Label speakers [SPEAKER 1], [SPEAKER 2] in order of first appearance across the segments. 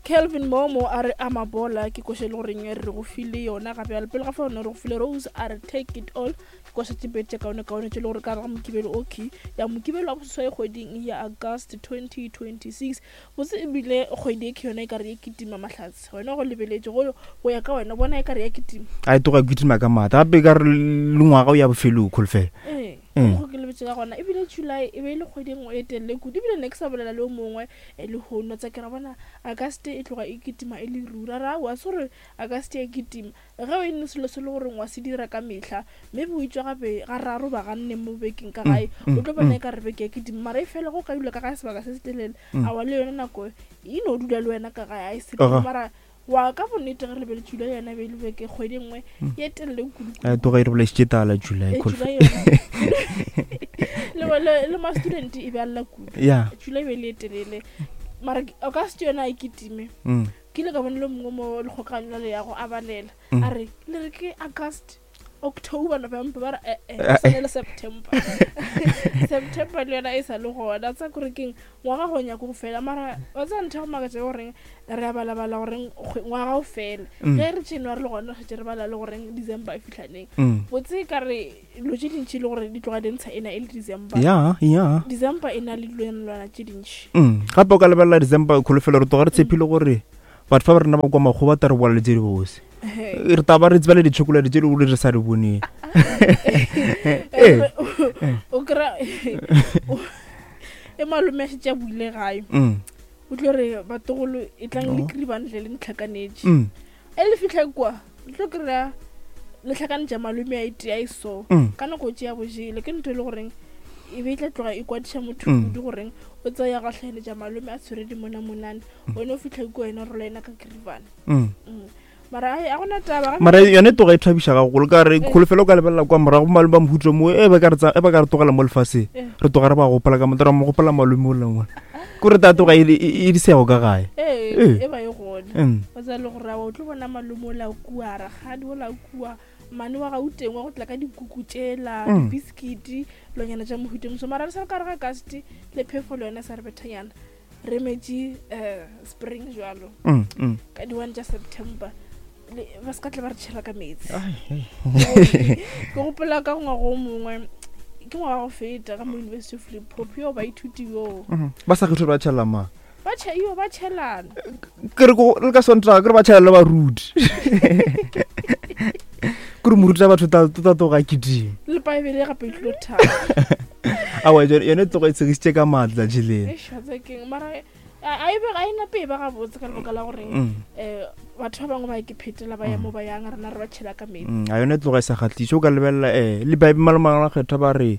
[SPEAKER 1] Kelvin Momo a re Amabola ke koša e le goreng re go file yona gape bjale pele ga fa yone re go file Rose a re Take It All ke koša tše pedi tše kaone kaone tše le gore ka ga Mokibelo okay ya Mokibelo wa boseswai kgweding ya August 2026 botse ebile kgwedi e ke yona e ka re e kitima mahlatse wena go lebeletše go go ya ka wena bona e ka re ya kitima
[SPEAKER 2] a e tloga e kitima ka maatla gape e ka re le ngwaga o ya bofelong kholofelo
[SPEAKER 1] ee go ke lebetse ka gona ebile July e be e le kgwedi e nngwe e telele kudu ebile ne ke sa bolela le o mongwe E lehono tsa ke ra bona Auguste e tloga e kitima e le ruri. A re aowa, se gore Auguste ya kitima. Ge o e ne selo se le goreng wa se dira ka mehla, maybe o itšwa gape ga raro ba ganne mo bekeng ka gae, o tlo bona e ka re beke ya kitima. Mara e fela go ka dula ka gae sebaka se se telele, aowa le yona nako e no dula le wena ka gae, a e sepele. Mara wa ka bonnete ge re lebeletše July yona e be e le beke kgwedi e nngwe ye telele kudu.
[SPEAKER 2] A tloga e re bolaisitše tala July.
[SPEAKER 1] Eh, July yona. le le le ma student e be a lla kudu.
[SPEAKER 2] Yeah.
[SPEAKER 1] July e be e le e telele. Mara o ka se yona e kitime. Ke ile ka bona le mongwe mo lekgokanyo la leago a balela. A re le re ke August. October, November ba re eh, eh,
[SPEAKER 2] Eh,
[SPEAKER 1] sane le September. September le yona e sa le gona. Tsa kore keng ngwaga go nyako go fela mara wa tseba ntho ya go makatša ke goreng re a balabala goreng ngwaga o fele. Ge re January le gona re šetše re bala le goreng December e fihla neng. Botse e ka re dilo tše dintši le gore di tloga di ntsha ena e le December.
[SPEAKER 2] Ya, ya.
[SPEAKER 1] December e na le dilwanalwana tše dintši.
[SPEAKER 2] Gape o ka lebelela December kholofelo re tloga re tshepile gore batho ba ba rena ba kwa makgowa ba tla re bolela le tše dibose. Re tla ba re tseba le di-chocolate tše di re sa di boneng.
[SPEAKER 1] Ee. O kry-a e malome a šetše a buile gae. O tlo re batogolo e tlang le kry-bane tle le ntlhakanetše. E le fitlha kwa le tlo kry-a le tlhakanetša malome a e tea e so. Ka nako tše ya bojele ke ntho e le goreng e be e tla tloga e kwadiša motho kudu goreng o tsaya gatlhaeletša malome a tshwere dimonamonane. Wena o fitlha kua wena o rola ena ka kribane. Mara ai a gona taba ga
[SPEAKER 2] Mara yone toga e thabiša gagolo ka re kholofelo o ka lebelela kwa morago malome ba mohuto mo e ba ka re tsa- e ba ka re tlogela mo lefaseng re tloga re ba gopola ka motho ra mo gopola malome o lengwe ke re ta tloga e le- e e di sego ka gae
[SPEAKER 1] ee
[SPEAKER 2] Ee.
[SPEAKER 1] e ba e gona o tsaya le gore awa o tlo bona malome o la kua rakgadi o la kua mane wa gauteng wa go tla ka dikuku tšela dibiskiti lonyana tša mohuto moso mara re sa le ka re ga kasti le phefo le yone sa re bethanyana re metše um spring jalo ka di-one tša September ba se ka tla ba re tšhela ka meetse. Ke gopola ka ngwaga o mongwe ke ngwaga go feta ka mo University of Limpopo yo baithuti yo
[SPEAKER 2] ba sa kgetho ba tšhela mang
[SPEAKER 1] ba tšhe yo ba tšhelana
[SPEAKER 2] ke re le ka Sontaga ke re ba tšhela le baruti ke re moruti wa batho ta ta tloga kitima
[SPEAKER 1] le paebele gape e tlilo thata
[SPEAKER 2] awa yone tloga e tshegisitše ka maatla tšheleng
[SPEAKER 1] eish wa tseba keng mara a e be ga e nape e ba gabotse ka lebaka la goreng um batho ba bangwe ba ke phetela ba ya mo ba yang rena re ba tšhela ka metsi
[SPEAKER 2] a yone tloga e sa kgatlise o ka lebelela um le baebe malomangwe a kgetha ba re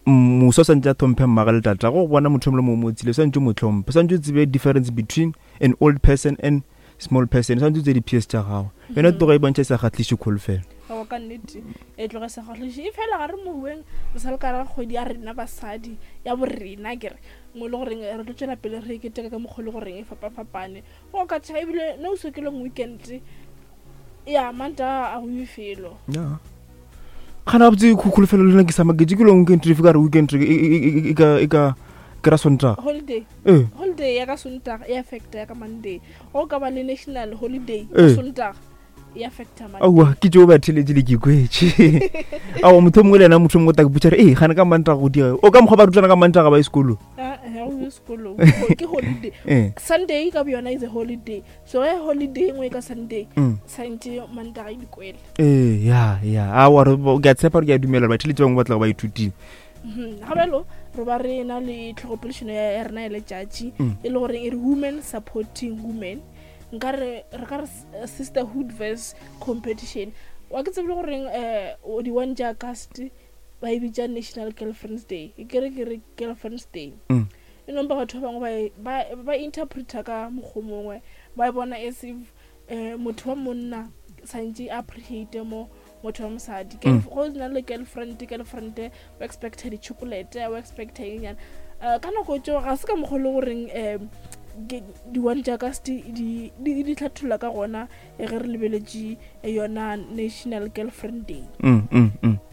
[SPEAKER 2] um moso o santse a tlhomphe mmage le tata go bona motho yo mongwe le mongwe mo tsile o santse o mo tlhomphe o santse o tsebe difference between an old person and small person o santse o tsebe di-ps tša gago yone tloga e bontšha e sa kgatlise kholofelo
[SPEAKER 1] aowa ka nnete e tloga e sa kgatlise e fela ga re mohueng re sa le ka ra kgwedi ya rena basadi ya borena ke re mo e le goreng re tlo tšwela pele re keteka ka mokgwa e le goreng e fapafapane go ka tšha ebile no so ke long weekend ya manta a go iwe felo
[SPEAKER 2] ya gana gabotse kholofelo le nna ke sa maketse ke long weekend ka re weekend e ka e ka ke ra Sontaga
[SPEAKER 1] holiday
[SPEAKER 2] ee
[SPEAKER 1] holiday ya ka Sontaga e affecta ya ka Monday go ka ba le national holiday ka
[SPEAKER 2] Ee.
[SPEAKER 1] Sontaga e affecta Monday
[SPEAKER 2] aowa ke tšeo ba theletše le ke kwetše aowa motho o mongwe le yena motho o mongwe o tla ke botša re ee gane ka Mantaga go diega o ka mokgwa ba rutana ka Mantaga ba ye sekolong
[SPEAKER 1] Ah, eh, ga o ye sekolong ke holiday
[SPEAKER 2] ee
[SPEAKER 1] Sunday ka boyona is a holiday so ge holiday e nngwe ka Sunday santse Mantaga e dikwele
[SPEAKER 2] ee ya ya aowa ke a tshepa gore ke a dumela gore batheletši bangwe ba tlago ba ithutile
[SPEAKER 1] Ga bjalo re ba re na le tlhogopoledišano ya rena ya letšatši e le goreng e re women supporting women. Nka re re ka re sisterhood verse competition. Wa ke tsebile goreng um di-one tša August ba e bitša National Girlfriends Day. E kere ke re Girlfriends Day. E nompa batho ba bangwe ba ba interpreter ka mokgwa mongwe ba e bona as if um motho wa monna santse a appreciate mo motho wa mosadi go na le girlfriend girlfriend o expecta di-chocolate o expecta eng nyana ka nako tšeo ga se ka mokgwa le goreng um di-one tša ka di di hlatholla ka gona ge re lebeletše yona National Girlfriend Day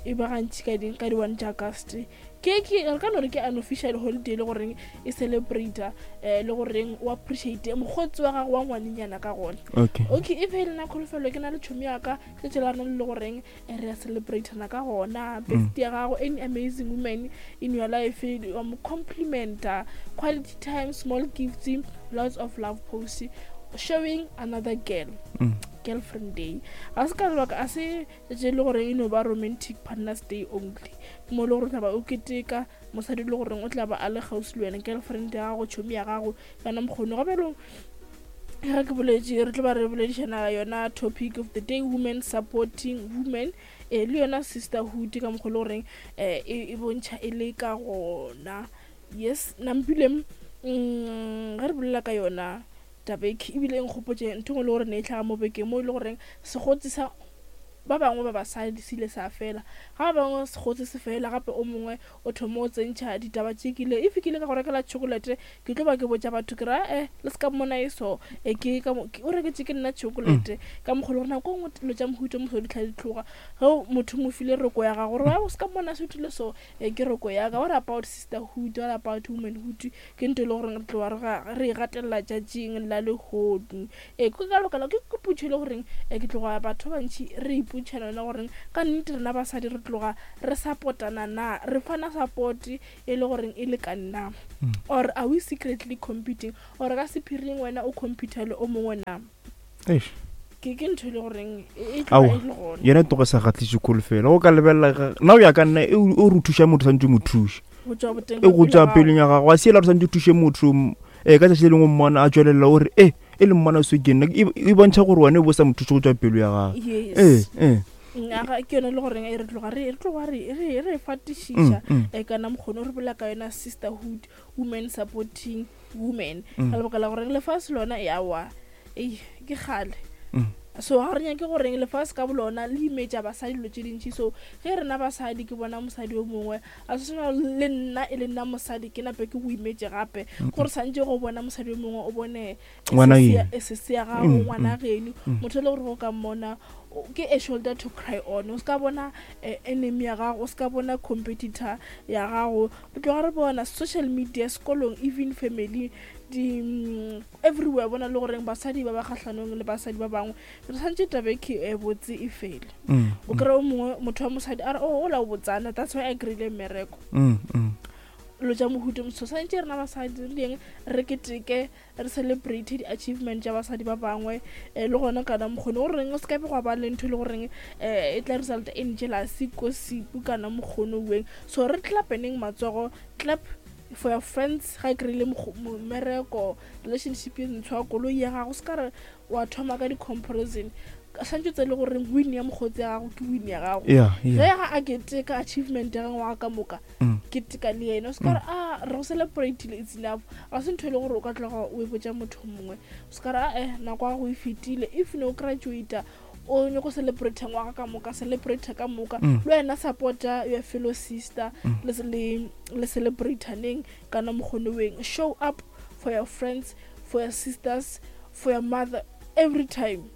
[SPEAKER 1] e ba gantši ka di-one tša August. Ke ke re ka no re ke unofficial holiday le goreng e celebrate le goreng o appreciate mokgotsi wa gago wa ngwanenyana ka gona.
[SPEAKER 2] Okay.
[SPEAKER 1] Okay, if e le nna kholofelo ke na le tšhomi ya ka tšatši la rena le le goreng re a celebratana ka gona. Best ya gago, any amazing woman in your life, wa mo complimenta, quality time, small gifts, lots of love posts, showing another girl. Girlfriend day ga se ka lebaka, a se tše e le goreng e no ba romantic partners day only, mo e le gore o tla ba o keteka mosadi le goreng o tla ba a le kgauswi le wena, girlfriend ya gago, tšhomi ya gago, kana mokgoni. Ga bjalo ge ke boletše, re tlo ba re boledišana yona topic of the day, women supporting women, le yona sisterhood ka mokgwa le goreng e bontšha e le ka gona. Yes, nampile ge re bolela ka yona tabeke, ebile e nkgopotše ntho engwe le gore ne e tlhaga mo bekeng, mo e le goreng sekgotsi sa ba bangwe ba basadi se ile sa fela, ga ba bangwe sekgotsi se fela gape o mongwe o thoma o tsentšha ditaba tše kile if ke ile ka go rekela chocolate, ke tlo ba ke botša batho ke ra le se ka mmona e so ke ka mo, o reketše ke nna chocolate ka mokgwa le gore nako nngwe dilo tša mohuta moso di tlha di tloga ge motho mo file roko ya gago gore o se ka mmona se thule so ke roko ya ka. What about sisterhood? What about womanhood? Ke ntho e le goreng re tloga re e gatelela tšatšing la lehodu. Ee, ke ka lebaka la ke potšo e le goreng ke tloga batho ba bantši re ipotšhana yona goreng ka nnete rena basadi re tloga re support-ana na, re fana support e le goreng e lekane na, or are we secretly competing, or ka sephiring wena o compete le o mongwe na?
[SPEAKER 2] Eish.
[SPEAKER 1] Ke ntho e le goreng e tloga e le gona.
[SPEAKER 2] Yena tloga sa kgatlise kholofelo. Go ka lebelela nna o ya ka nna e o re thuša motho santse mo thuše.
[SPEAKER 1] Go tswa boteng
[SPEAKER 2] E go tswa pelong ya gago. A se ela re santse thuše motho ka tsatsi le lengwe mmona a tswelela o re e le mmona so ke nna e bontšha gore wena o bo sa mo thuše go tswa pelo ya gago.
[SPEAKER 1] Yes. Aga ke yone le goreng e re tloga re tloga re re re fatišiša kana mokgone re bolela ka yona sisterhood, women supporting women, ka lebaka la goreng lefase lona ya wa ei ke kgale. So ga re nyake goreng lefase ka bolona le imetša basadi dilo tše dintši. So ge rena basadi ke bona mosadi o mongwe a se tshwana le nna e le nna mosadi ke nape ke go imetše gape, gore santše go bona mosadi o mongwe o bone sese ya gago, ngwana geno, motho e le gore go ka mmona ke a shoulder to cry on. O se ka bona enemy ya gago, o se ka bona competitor ya gago. Re tloga re bona social media, sekolong, even family, di everywhere bona le goreng basadi ba ba kgahlanong le basadi ba bangwe. Re santše tabeke e botse e fele. O kry o mongwe motho wa mosadi a re o la o botsana, that's why a kry-ile mmereko. Lo tša mohuto moso santše rena basadi re dieng re keteke, re celebrate di-achievement tša basadi ba bangwe, le gona kana mokgone goreng o se ka be gwa ba le ntho e le goreng e tla result in jealousy, gossip kana mokgone weng. So re clapeneng matsogo, clap for your friends ga e kry-ile mmereko, relationship e ntshwa, koloi ya gago, se ka re wa thoma ka di-comparison. Santse tse le goreng win ya mokgotsi ya gago ke win ya gago. Ge ga a keteka achievement ya ngwaga ka moka, keteka le yena. O se ka re a re go celebrate-ile, it's enough. Ga se ntho e le gore o ka tloga o e botša motho mongwe. O se ka re a nako ya gago e fetile. If ne o graduate o nyako celebrate ngwaga ka moka, celebrate ka moka. Le wena supporta your fellow sister, le celebrate-aneng kana mokgone weng. Show up for your friends, for your sisters, for your mother every time.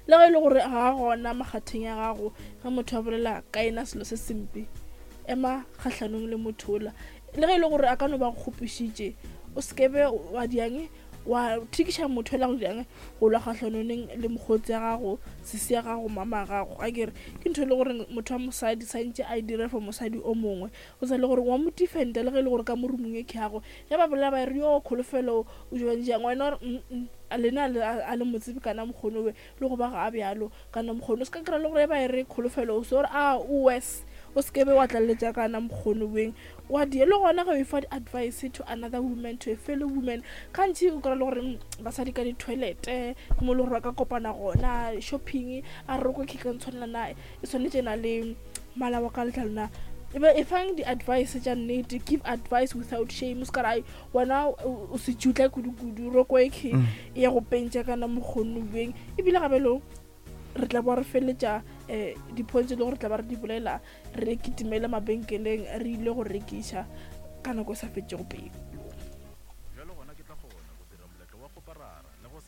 [SPEAKER 1] Le ge e le gore ga gona makgatheng ya gago, ge motho a bolela ka ena selo se sempe, ema kgahlanong le motho ola. Le ge e le gore a ka no ba go kgopišitše, o se ke be wa diang wa thikiša motho ola go diang go lwa kgahlanong le mokgotsi ya gago, sesi ya gago, mama ya gago. A ke re ke ntho e le gore motho wa mosadi santše a e dire for mosadi o mongwe. O sa le gore wa mo defenda le ge e le gore ka mo roomong e ke yago, ge ba bolela ba re yo kholofelo o jwang jang, wena o re a lena a le mo tsebe kana mokgone we le go ba ga bjalo kana mokgone. O se ka kry-a le gore ba e re kholofelo o se gore a o worse, o se ke be wa tlaleletša kana mokgone weng wa die. Le gona ge o e fa di-advice to another woman, to a fellow woman, gantši o kry-a le gore basadi ka di-toilet-e ke mo le gore ba ka kopana gona, shopping, a re roko ke ka ntshwanela na, e swanetše na le mmala wa ka letlalo na. E fang di-advice tša nnete, give advice without shame. O se ka re ai wena o se tšutla kudu-kudu, roko e ke e ya go pentša kana mokgone weng. Ebile gape lo re tla bo re feletša di-points le gore tla ba re di bolela, re kitimele mabenkeleng re ile go rekiša ka nako e sa fetšego pelo.
[SPEAKER 3] Bjalo gona ke tla kgona go dira moletlo wa kgoparara le go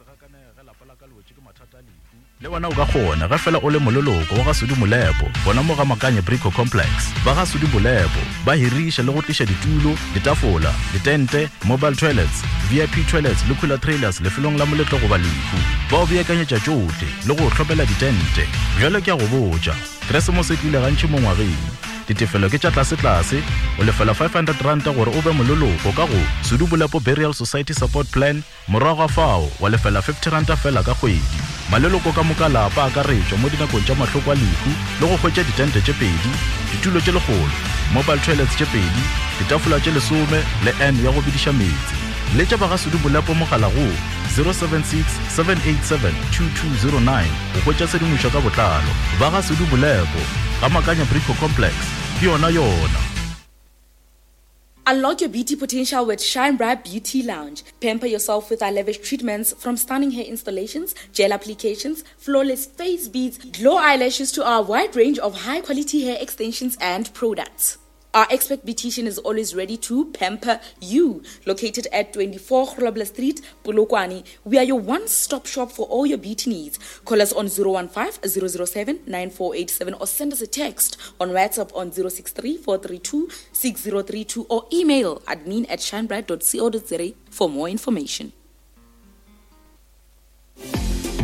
[SPEAKER 3] Le wena o ka kgona ge fela o le moleloko wa ga Sudi Molepo gona mo ga Makanye Brico Complex. Ba ga Sudi Molepo ba hiriša le go tliša ditulo, ditafola, ditente, mobile toilets, VIP toilets le cooler trailers lefelong la moletlo goba lehu. Ba o beakanyetša tšohle le go o hlopela ditente. Bjale ke a go botša, Keresemose e tlile gantši mo ngwageng. Ditefelo ke tša tlasetlase, o lefela R500 gore o be moleloko ka go Sudi Bolepo Burial Society Support Plan, Morago ga fao, wa lefela R50 feela ka kgwedi. Maleloko ka moka a lapa a akaretšwa mo dinakong tša mahloko a lehu le go hwetša ditente tše pedi, ditulo tše lekgolo, mobile toilets tše pedi, ditafola tše lesome le urn ya go bediša meetse. Letša ba ga Sudu Bolepo mogala go 076 787 2209 go hwetša tshedimošo ka botlalo. Ba ga Sudu Bolepo, Ga Makanya Brico Complex, ke yona yona.
[SPEAKER 4] Unlock your beauty potential with Shine Bright Beauty Lounge. Pamper yourself with our lavish treatments from stunning hair installations, gel applications, flawless face beads, glow eyelashes to our wide range of high quality hair extensions and products. Our expert beautician is always ready to pamper you. Located at 24 Grobler Street, Polokwane, we are your one-stop shop for all your beauty needs. Call us on 015 007 9487 or send us a text on WhatsApp on 063 432 6032 or email admin at shinebright.co.za for more information.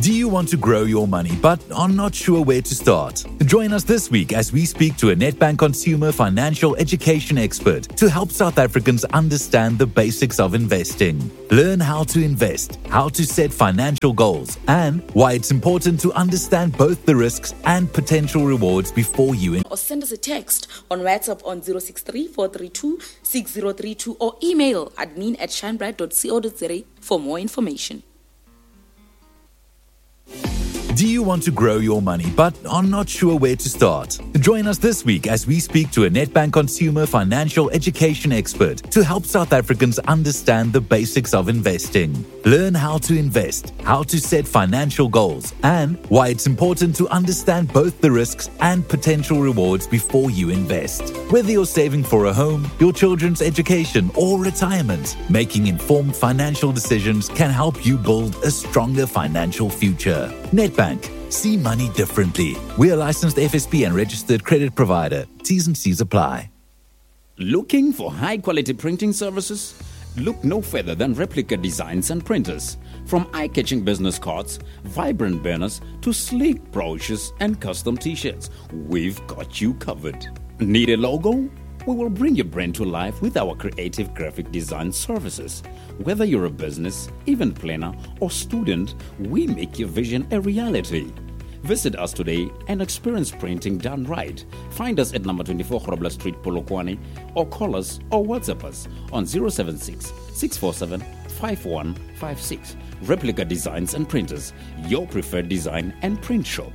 [SPEAKER 5] Do you want to grow your money but are not sure where to start? Join us this week as we speak to a Nedbank consumer financial education expert to help South Africans understand the basics of investing. Learn how to invest, how to set financial goals, and why it's important to understand both the risks and potential rewards before you
[SPEAKER 4] invest. Or send us a text on WhatsApp on 063 432 6032 or email admin at shinebright.co.za for more information.
[SPEAKER 5] Do you want to grow your money but are not sure where to start? Join us this week as we speak to a Nedbank consumer financial education expert to help South Africans understand the basics of investing. Learn how to invest, how to set financial goals, and why it's important to understand both the risks and potential rewards before you invest. Whether you're saving for a home, your children's education, or retirement, making informed financial decisions can help you build a stronger financial future. Nedbank. See money differently. We are licensed FSP and registered credit provider. T's and C's apply.
[SPEAKER 6] Looking for high quality printing services? Look no further than Replica Designs and Printers. From eye catching business cards, vibrant banners, to sleek brochures and custom t shirts, we've got you covered. Need a logo? We will bring your brand to life with our creative graphic design services. Whether you're a business, event planner, or student, we make your vision a reality. Visit us today and experience printing done right. Find us at number 24 Grobler Street, Polokwane, or call us or WhatsApp us on 076 647 5156. Replica Designs and Printers, your preferred design and print shop.